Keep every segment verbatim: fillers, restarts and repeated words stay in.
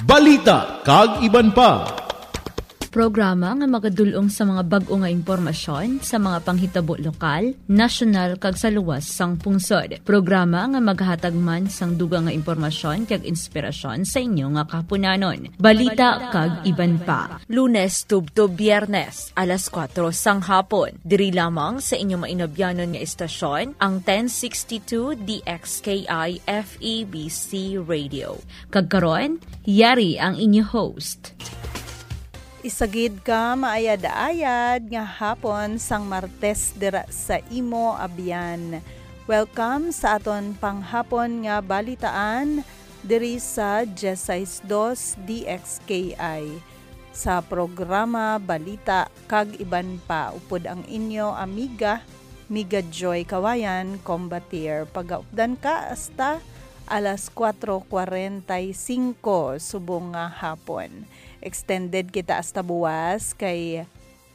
Balita kag iban pa. Programa nga magadul-ong sa mga bag-o nga impormasyon sa mga panghitabo lokal, nasyonal, kag sa luwas sang pungsod. Programa nga maghatag man sang dugang nga impormasyon kag inspirasyon sa inyo nga kahaponanon. Balita kag iban pa. Lunes tubtob Biyernes, alas kuwatro sang hapon. Diri lamang sa inyo mainabyanon nga istasyon, ang ten sixty-two D X K I F E B C Radio. Kag karon, yari ang inyo host. Isagid ka maayad-ayad nga hapon sang Martes dira sa imo abyan. Welcome sa aton panghapon nga balitaan diri sa dieciséis dos D X K I. Sa programa Balita kag iban pa, upod ang inyo amiga, Miga Joy Kawayan, Combatir. Pagaupdan ka hasta alas kuwatro kuwarenta y singko subong nga hapon. Extended kita hasta buwas kay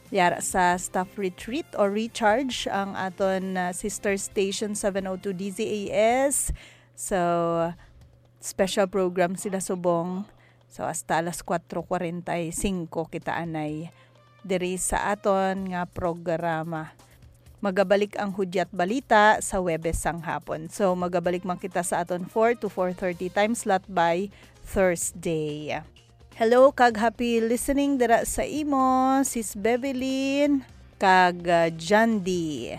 yara sa staff retreat or recharge ang aton, ah, sister station seven oh two D Z A S. So, special program sila subong. So, hasta alas kuwatro kuwarenta y singko kita anay diri sa aton nga programa. Magabalik ang Hudyat Balita sa Huwebes sang hapon. So, magabalik man kita sa aton four to four thirty time slot by Thursday. Hello, kag happy listening dira sa imo, Sis Bevelyn, kag, ah, Jandy.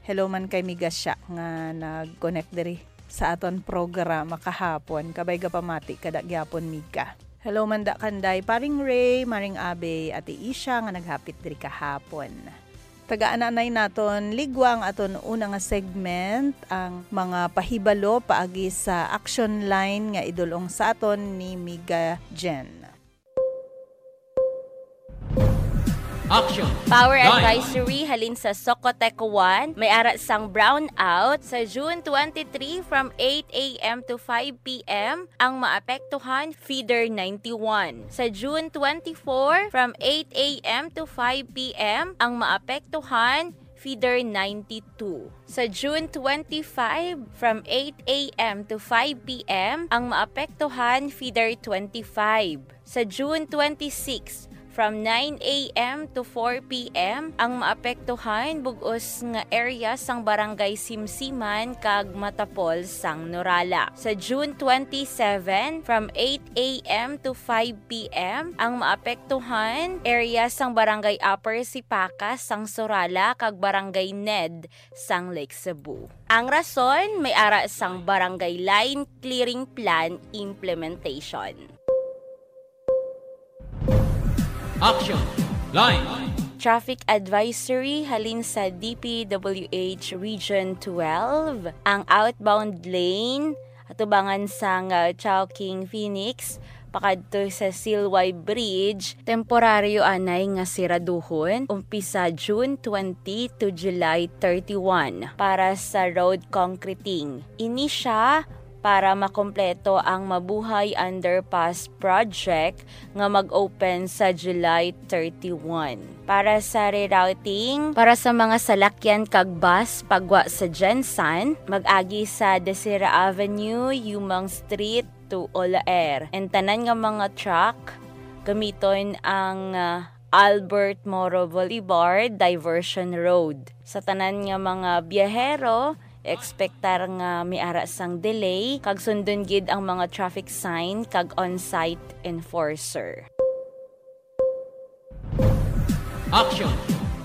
Hello man kay Miga siya nga nag-connect diri sa aton programa kahapon. Kabay gapamati ka da gyapon, Miga. Hello man da kanday Paring Ray, Maring Abe, Ate Isha nga naghapit diri kahapon. Tagaan anay naton ligwa ang aton una nga segment, ang mga pahibalo paagi sa action line nga idul-ong sa aton ni Miga Jen. Action. Power Line. Advisory halin sa Socotec one, may ara sang brownout sa June twenty-three from eight a m to five p m. Ang maapektuhan, feeder ninety-one. Sa June twenty-four, from eight a m to five p m, ang maapektuhan, feeder ninety-two. Sa June twenty-five, from eight a m to five p m, ang maapektuhan, feeder twenty-five. Sa June twenty-six, from nine a m to four p m, ang maapektuhan bug-os nga area sang Barangay Simsiman kag Matapol sang Norala. Sa June twenty-seven, from eight a m to five p m, ang maapektuhan area sang Barangay Upper Sipaca sang Surala kag Barangay Ned sang Lake Cebu. Ang rason, may ara sang Barangay Line Clearing Plan implementation. Action! Line! Traffic advisory halin sa D P W H Region twelve, ang outbound lane atubangan sang, uh, Chowking Phoenix pakadto sa Silway Bridge, temporaryo anay nga siraduhon umpisa June twenty to July thirty-one para sa road concreting. Ini sia para makompleto ang Mabuhay Underpass Project nga mag-open sa July thirty-one. Para sa rerouting, para sa mga salakyan kag bus pagwa sa Gensan, mag-agi sa Desira Avenue, Yumang Street to Olaer. And tanan nga mga truck, gamiton ang, ah, Albert Moro Boulevard Diversion Road. Sa tanan nga mga biyahero, ekspektar nga may ara sang delay, kag sundon gid ang mga traffic sign kag on-site enforcer. Action!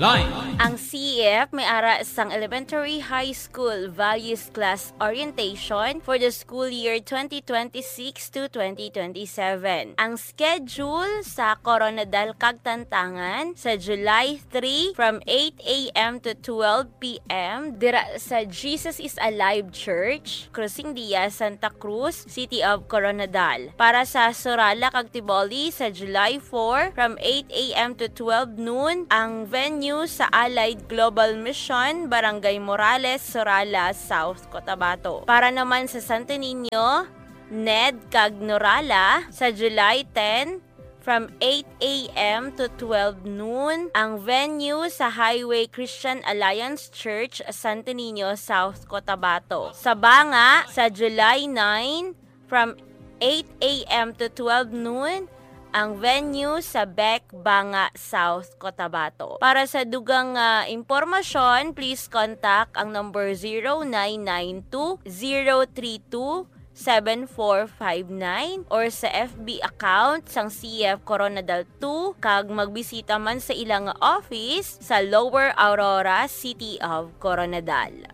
Line! Ang C E F may ara sang Elementary High School Values Class Orientation for the school year twenty twenty-six to twenty twenty-seven. Ang schedule sa Koronadal kag Tantangan sa July three from eight a m to twelve p m dira sa Jesus is Alive Church, Cruzingdia, Santa Cruz, City of Koronadal. Para sa Surala kag Tiboli sa July four from eight a m to twelve noon ang venue sa Allied Global Mission, Barangay Morales, Surala, South Cotabato. Para naman sa Santo Niño, Ned kag Norala sa July ten, from eight a m to twelve noon, ang venue sa Highway Christian Alliance Church, Santo Niño, South Cotabato. Sa Banga, sa July nine, from eight a m to twelve noon, ang venue sa Bec Banga, South Cotabato. Para sa dugang nga impormasyon, please contact ang number zero nine nine two, zero three two, seven four five nine or sa F B account sang C F Koronadal two, kag magbisita man sa ila nga office sa Lower Aurora, City of Coronadal.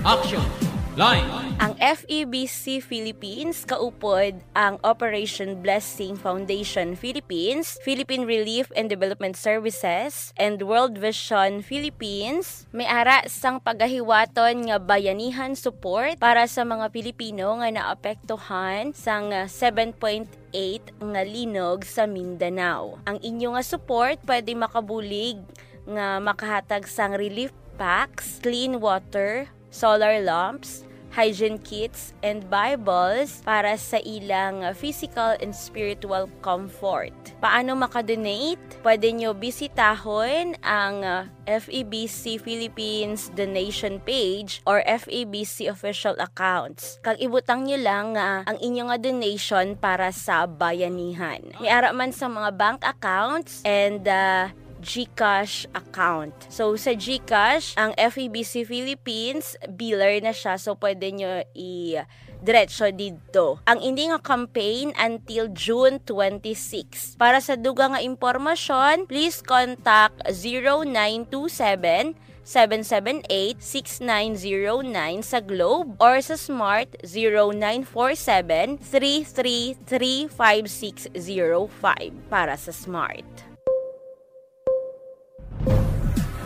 Action Line. Ang F E B C Philippines kaupod ang Operation Blessing Foundation Philippines, Philippine Relief and Development Services, and World Vision Philippines may ara sang pagahiwaton nga bayanihan support para sa mga Pilipino nga naapektuhan sang seven point eight nga linog sa Mindanao. Ang inyo nga support pwede makabulig nga makahatag sang relief packs, clean water, solar lamps, hygiene kits, and Bibles para sa ilang physical and spiritual comfort. Paano makadonate? Pwede nyo bisitahon ang, uh, F E B C Philippines donation page or F E B C official accounts. Kag ibutang nyo lang nga ang inyo nga donation para sa bayanihan. May ara man sa mga bank accounts and, uh, GCash account. So, sa GCash, ang F E B C Philippines, biller na siya. So, pwede nyo i-diretso didto. Ang ini nga campaign until June twenty-six. Para sa dugang nga impormasyon, please contact zero nine two seven, seven seven eight, six nine zero nine sa Globe or sa Smart zero nine four seven, three three three five six zero five para sa Smart.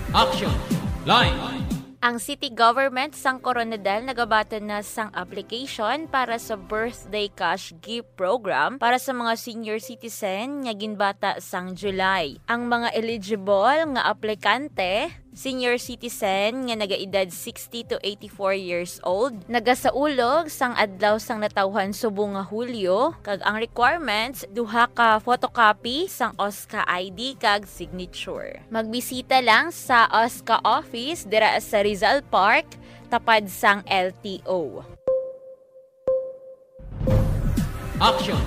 Action Line. Ang city government sang Koronadal nagabaton na sang application para sa Birthday Cash Gift Program para sa mga senior citizen nga ginbata sang July. Ang mga eligible nga aplikante, senior citizen nga nagaedad sixty to eighty-four years old, nagasaulog sang adlaw sang natawhan subong nga Hulyo, kag ang requirements, duha ka photocopy sang OSCA I D kag signature. Magbisita lang sa OSCA office dira sa Rizal Park, tapad sang L T O. Action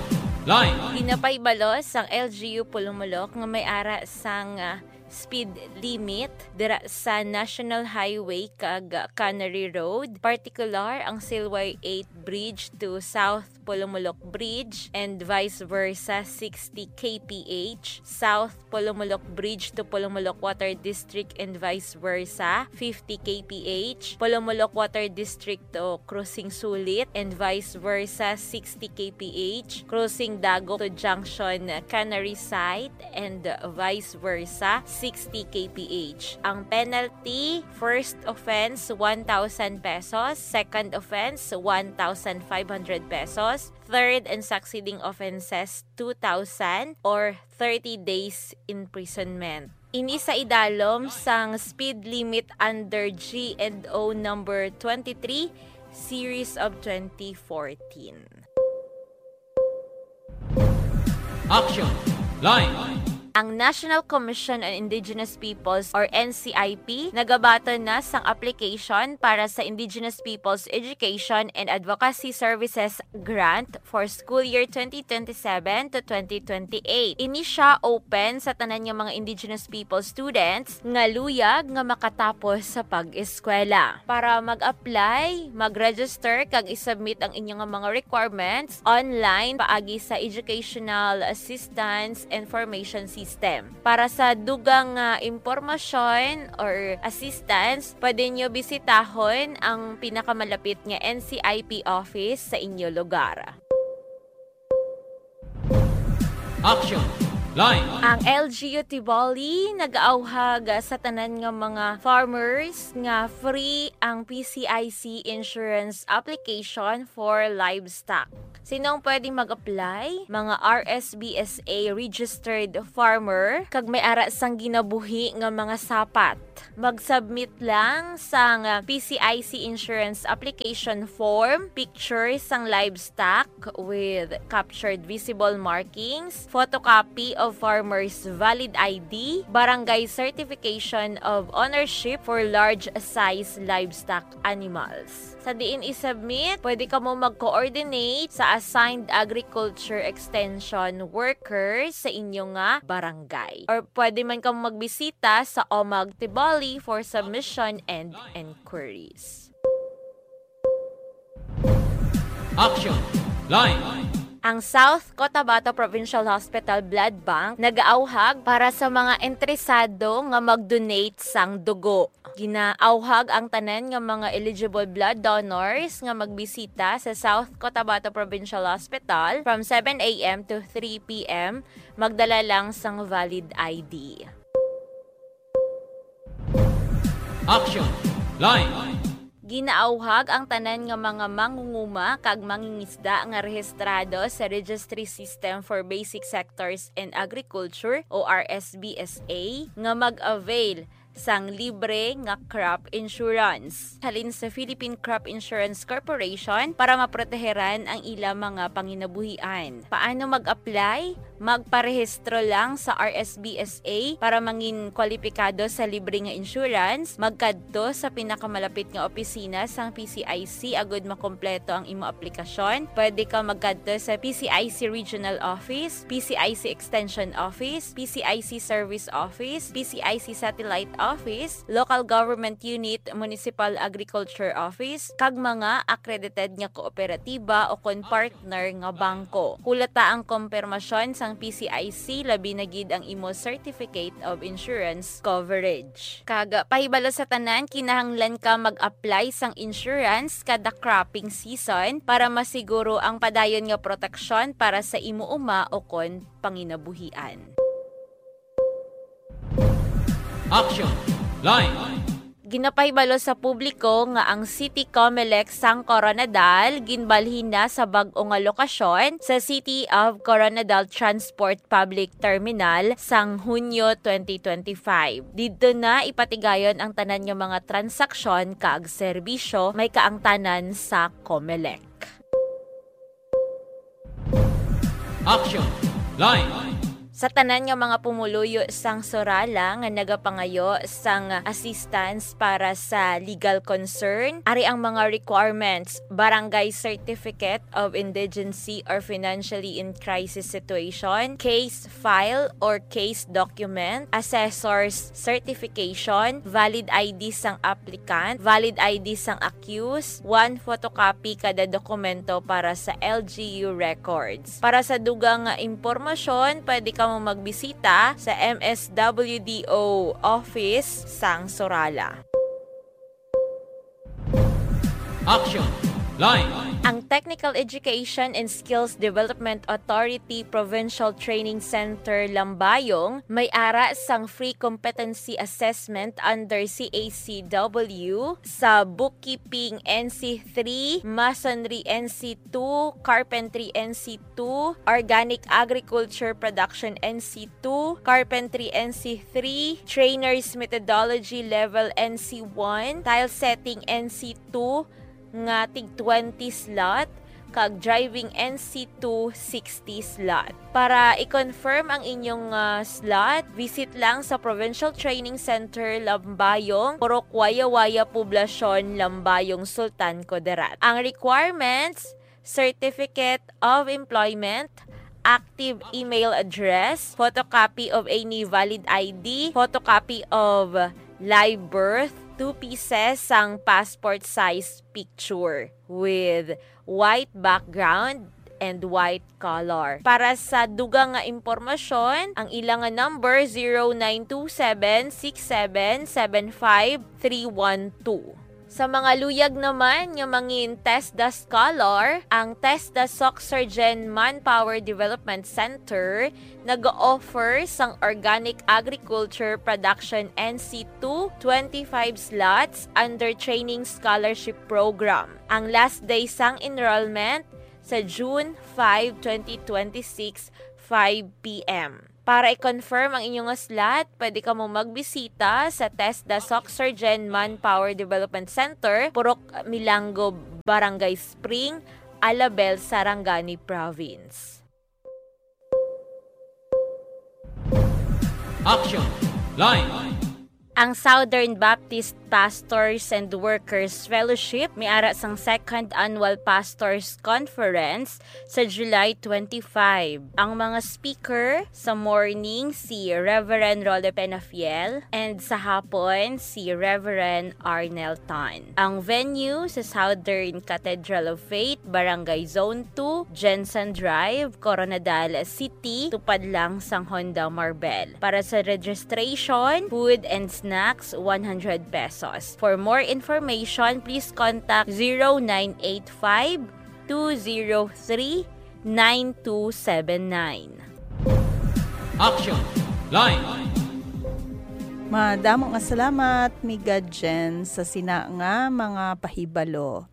Line. Ginapahibalos sang L G U Polomolok nga may ara sang, ah, speed limit dira sa National Highway kag Cannery Road, partikular ang Silway eight Bridge to South Polomolok Bridge and vice versa, sixty K P H, South Polomolok Bridge to Polomolok Water District and vice versa, fifty K P H, Polomolok Water District to Crossing Sulit and vice versa, sixty K P H, Crossing Dago to Junction Cannery Site and vice versa, sixty K P H. Ang penalty, first offense, one thousand pesos, second offense, one thousand five hundred pesos, third and succeeding offenses, two thousand or thirty days imprisonment. Ini sa idalom sang speed limit under G and O number twenty-three, series of twenty fourteen. Action Line. Ang National Commission on Indigenous Peoples or N C I P nagabaton na sang application para sa Indigenous Peoples Education and Advocacy Services Grant for school year twenty twenty-seven to twenty twenty-eight. Ini sia open sa tanan nga mga Indigenous People students nga luyag nga makatapos sa pag-eskwela. Para mag-apply, mag-register kag i-submit ang inyo nga mga requirements online paagi sa Educational Assistance Information System. Para sa dugang nga impormasyon or assistance, pwede nyo bisitahon ang pinakamalapit nga N C I P office sa inyo lugar. Action! Line! Ang L G U Tiboli nag-auhag sa tanan nga mga farmers nga free ang P C I C insurance application for livestock. Sino ang pwedeng mag-apply? Mga R S B S A registered farmer kag may ara sang ginabuhi nga mga sapat. Mag-submit lang sang P C I C insurance application form, picture sang livestock with captured visible markings, photocopy of farmer's valid I D, barangay certification of ownership for large size livestock animals. Sa diin i-submit, pwede kamo mag-coordinate sa assigned agriculture extension worker sa inyo nga barangay. Or pwede man kamo magbisita sa OMAG Tiboli for submission and inquiries. Action Line. Ang South Cotabato Provincial Hospital Blood Bank nagaawhag para sa mga interesado nga mag-donate sang dugo. Ginaawhag ang tanan nga mga eligible blood donors nga magbisita sa South Cotabato Provincial Hospital from seven a m to three p m. Magdala lang sang valid I D. Action Line. Ginaawhag ang tanan nga mga mangunguma kag mangingisda nga rehistrado sa Registry System for Basic Sectors in Agriculture o R S B S A nga mag-avail sang libre nga crop insurance halin sa Philippine Crop Insurance Corporation para maproteheran ang ila mga panginabuhian. Paano mag-apply? Magparehistro lang sa R S B S A para mangin kwalipikado sa libre nga insurance. Magkadto sa pinakamalapit nga opisina sang P C I C agud makompleto ang imo aplikasyon. Pwede ka magkadto sa P C I C Regional Office, P C I C Extension Office, P C I C Service Office, P C I C Satellite Office, Local Government Unit, Municipal Agriculture Office, kag mga accredited nga kooperatiba o kon partner nga bangko. Hulata ang kompirmasyon sang P C I C, labi na gid ang imo Certificate of Insurance Coverage. Kag pahibalo sa tanan, kinahanglan ka mag-apply sang insurance kada cropping season para masiguro ang padayon nga proteksyon para sa imo uma o kon panginabuhian. Action Line. Ginapahibalo sa publiko nga ang City Comelec sang Koronadal ginbalhin na sa bag-o nga lokasyon sa City of Koronadal Transport Public Terminal sang Hunyo twenty twenty-five. Didto na ipatigayon ang tanan nga mga transaksyon kag serbisyo may kaangtanan sa Comelec. Action Line. Sa tanan nga mga pumuluyo sang Sorala nga nagapangayo sang assistance para sa legal concern, ari ang mga requirements: barangay certificate of indigency or financially in crisis situation, case file or case document, assessor's certification, valid I D sang applicant, valid I D sang accused, one photocopy kada dokumento para sa L G U records. Para sa dugang nga impormasyon, pwede kamo magbisita sa M S W D O office sang Sorala. Action Line. Ang Technical Education and Skills Development Authority Provincial Training Center Lambayong may ara sang free competency assessment under C A C W sa Bookkeeping N C three, Masonry N C two, Carpentry N C two, Organic Agriculture Production N C two, Carpentry N C three, Trainer's Methodology Level N C one, Tile Setting N C two, nga tig twenty slot, kag Driving N C two sixty slot. Para i-confirm ang inyong, ah, slot, visit lang sa Provincial Training Center Lambayong, Purok Wayawaya Poblacion, Lambayong, Sultan Kudarat. Ang requirements: Certificate of Employment, active email address, photocopy of any valid I D, photocopy of live birth, two pieces sang passport size picture with white background and white color. Para sa dugang nga impormasyon, ang ila nga number, zero nine two seven six seven seven five three one two. Sa mga luyag naman nga mangin TESDA Scholar, ang TESDA Soc Surgen Manpower Development Center nag-offer sang Organic Agriculture Production N C two twenty-five slots under Training Scholarship Program. Ang last day sang enrollment sa June five, twenty twenty-six, five p m. Para i-confirm ang inyo nga slot, pwede kamo magbisita sa TESDA Soc Surgen Manpower Development Center, Purok Milango, Barangay Spring, Alabel, Sarangani Province. Action Line. Ang Southern Baptist Pastors and Workers Fellowship may ara sang Second Annual Pastors Conference sa July twenty-five. Ang mga speaker sa morning si Reverend Rolly Penafiel and sa hapon si Reverend Arnel Tan. Ang venue sa Southern Cathedral of Faith, Barangay Zone two, Jensen Drive, Koronadal City, tupad lang sang Honda Marbel. Para sa registration, food and snacks, one hundred pesos. For more information, please contact zero nine eight five, two zero three, nine two seven nine. Action Line. Madamo nga salamat, Miga Jen, sa sina nga mga pahibalo.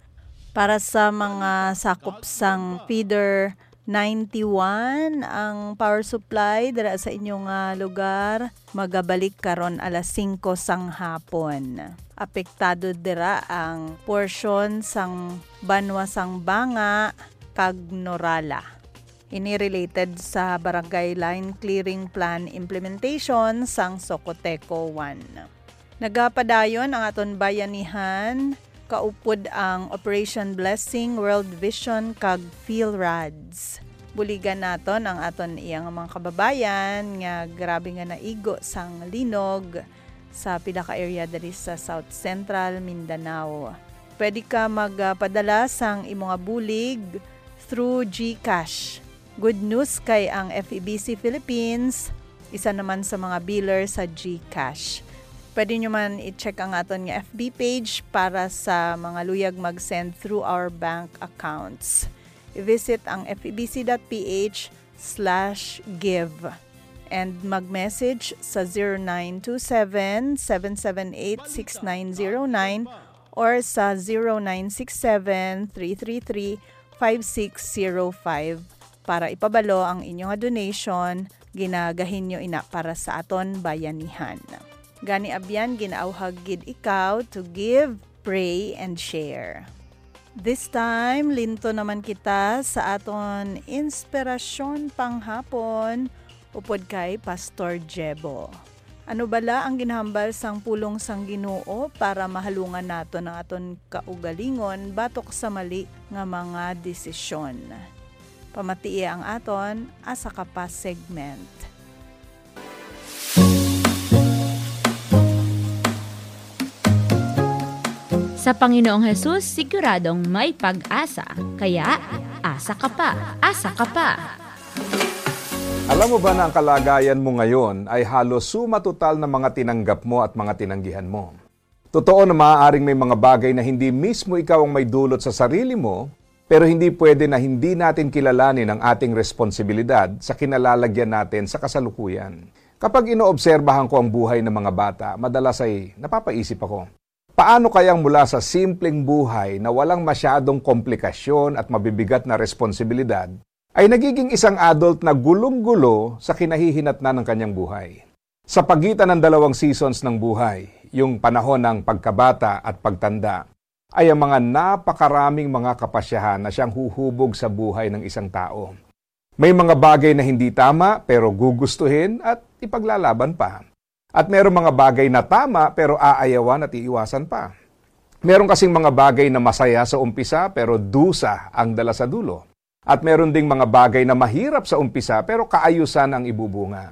Para sa mga sakop sang feeder ninety-one, ang power supply dira sa inyo nga lugar magabalik karon alas singko sang hapon. Apektado dira ang porsyon sang banwa sang Banga kag Norala. Ini related sa Barangay Line Clearing Plan implementation sang Socoteco one. Nagapadayon ang aton bayanihan, kaupod ang Operation Blessing, World Vision, kag PhilRads. Buligan naton ang aton iya nga mga kababayan nga grabe nga naigo sang linog sa pila ka area diri sa South Central Mindanao. Pwede ka magpadala sang imo nga bulig through GCash. Good news kay ang F E B C Philippines isa naman sa mga biller sa GCash. Pwede nyo man i-check ang aton nga F B page para sa mga luyag mag-send through our bank accounts. I-visit ang F E B C dot P H slash give and mag-message sa zero nine two seven, seven seven eight, six nine zero nine or sa zero nine six seven, three three three, five six zero five para ipabalo ang inyo nga donation. Ginagahin nyo ina para sa aton bayanihan. Gani abyan, ginaawhag gid ikaw to give, pray, and share. This time, linto naman kita sa aton inspirasyon panghapon upod kay Pastor Jebo. Ano bala ang ginahambal sang pulong sang Ginoo para mahalungan naton ang aton kaugalingon batok sa mali nga mga desisyon? Pamatii ang aton Asa Ka Pa segment. Sa Panginoong Hesus, siguradong may pag-asa. Kaya, asa ka pa, asa ka pa. Alam mo ba na ang kalagayan mo ngayon ay halos suma total ng mga tinanggap mo at mga tinanggihan mo? Totoo na maaaring may mga bagay na hindi mismo ikaw ang may dulot sa sarili mo, pero hindi pwede na hindi natin kilalanin ang ating responsibilidad sa kinalalagyan natin sa kasalukuyan. Kapag inoobserbahan ko ang buhay ng mga bata, madalas ay napapaisip ako, paano kayang mula sa simpleng buhay na walang masyadong komplikasyon at mabibigat na responsibilidad, ay nagiging isang adult na gulong-gulo sa kinahihinatnan ng kanyang buhay? Sa pagitan ng dalawang seasons ng buhay, yung panahon ng pagkabata at pagtanda, ay ang mga napakaraming mga kapasyahan na siyang huhubog sa buhay ng isang tao. May mga bagay na hindi tama pero gugustuhin at ipaglalaban pa. At merong mga bagay na tama pero aayawan at iiwasan pa. Meron kasing mga bagay na masaya sa umpisa pero dusa ang dala sa dulo. At meron ding mga bagay na mahirap sa umpisa pero kaayusan ang ibubunga.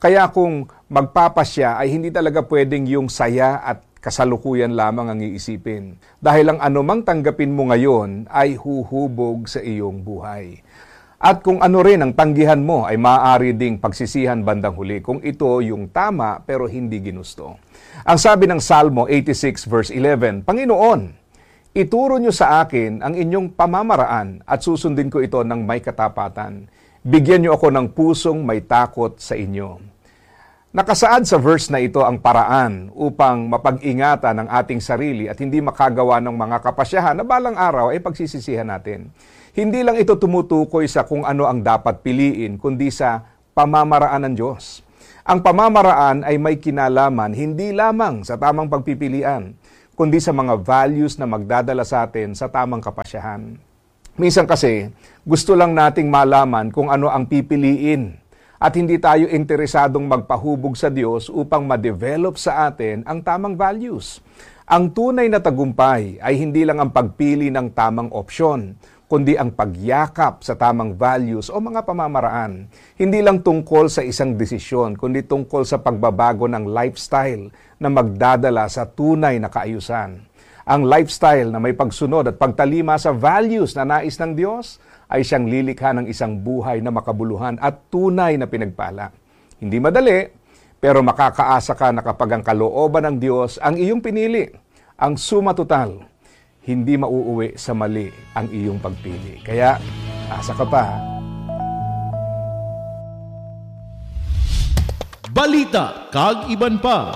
Kaya kung magpapasya ay hindi talaga pwedeng yung saya at kasalukuyan lamang ang iisipin. Dahil ang anumang tanggapin mo ngayon ay huhubog sa iyong buhay. At kung ano rin ang tanggihan mo ay maaari ding pagsisihan bandang huli kung ito yung tama pero hindi ginusto. Ang sabi ng Salmo eighty-six verse eleven, Panginoon, ituro niyo sa akin ang inyong pamamaraan at susundin ko ito ng may katapatan. Bigyan niyo ako ng pusong may takot sa inyo. Nakasaad sa verse na ito ang paraan upang mapag-ingatan ang ating sarili at hindi makagawa ng mga kapasyahan na balang araw ay pagsisisihan natin. Hindi lang ito tumutukoy sa kung ano ang dapat piliin, kundi sa pamamaraan ng Diyos. Ang pamamaraan ay may kinalaman hindi lamang sa tamang pagpipilian, kundi sa mga values na magdadala sa atin sa tamang kapasyahan. Minsan kasi, gusto lang nating malaman kung ano ang pipiliin at hindi tayo interesadong magpahubog sa Diyos upang ma-develop sa atin ang tamang values. Ang tunay na tagumpay ay hindi lang ang pagpili ng tamang opsyon, kundi ang pagyakap sa tamang values o mga pamamaraan. Hindi lang tungkol sa isang desisyon, kundi tungkol sa pagbabago ng lifestyle na magdadala sa tunay na kaayusan. Ang lifestyle na may pagsunod at pagtalima sa values na nais ng Diyos ay siyang lilikha ng isang buhay na makabuluhan at tunay na pinagpala. Hindi madali, pero makakaasa ka na kapag ang kalooban ng Diyos ang iyong pinili, ang suma total, hindi mauuwi sa mali ang iyong pagpili. Kaya, asa ka pa? Balita kag iban pa.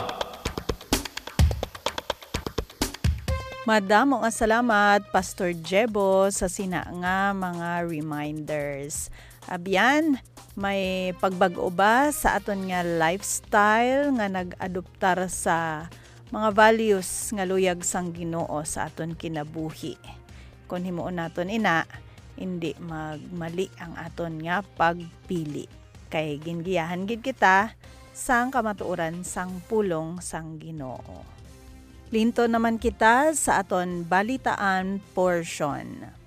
Madamo nga salamat, Pastor Jebo, sa sina nga mga reminders. Abyan, may pagbag-o ba sa aton nga lifestyle nga nag-adoptar sa mga values nga luyag sang Ginoo sa aton kinabuhi? Kon himuon naton ina, indi magmali ang aton nga pagpili, kay gingiyahan gid kita sang kamatuoran sang pulong sang Ginoo. Linto naman kita sa aton balitaan portion.